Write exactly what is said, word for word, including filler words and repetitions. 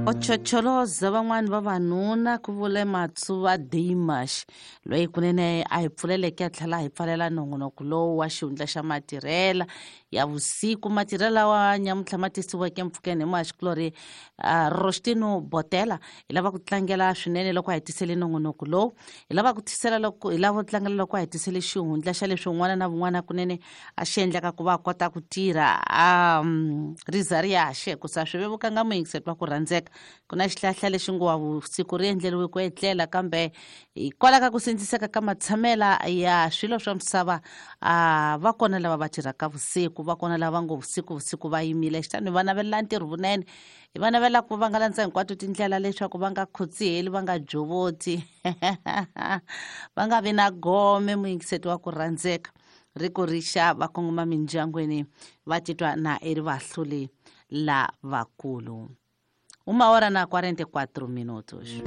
Ochocholoza van'wani vavanuna ku vule Matsuva Dimash, loyi kunene a hi pfuleleke a tlhela a hi pfalela nongonoko lowu wa xihundla xa matirhela ya vusiku. Matirhela lawa nyamuntlha ma tisiweke mpfhukeni hi muhaxikulorhi uh, Rostino Botela. Hi lava ku tlangela swinene loko a hi tisele nongonoko lowu, hi lava ku tisela loko hi lava ku tlangela loko a hi tisele xihundla xa leswi un'wana na vun'wana kunene a xi endlaka ku va a kota ku tirha um riza ri yaxe ku sa swi vevukanga muyingiseti wa ku rhandzeka. Ku na xihlahla lexi ngo wa vusiku ri endleriwe ku etlela, kambe hikwalaho ka ku sindziseka ka matshamela ya swilo swa misava, a va kona lava va tirhaka vusiku, va kona lava ngo vusiku vusiku va yimile. Xitani va navelela ntirho vunene, hi va navela ku va nga landza hinkwato tindlela leswaku va nga khotsiheli, va nga jovoti, va nga vi na gome. Muyingiseti wa ku rhandzeka, ri ku rixa va kongoma mindyangwini, va titwa na i ri vahluli lavakulu. Uma hora na quarenta e quatro minutos.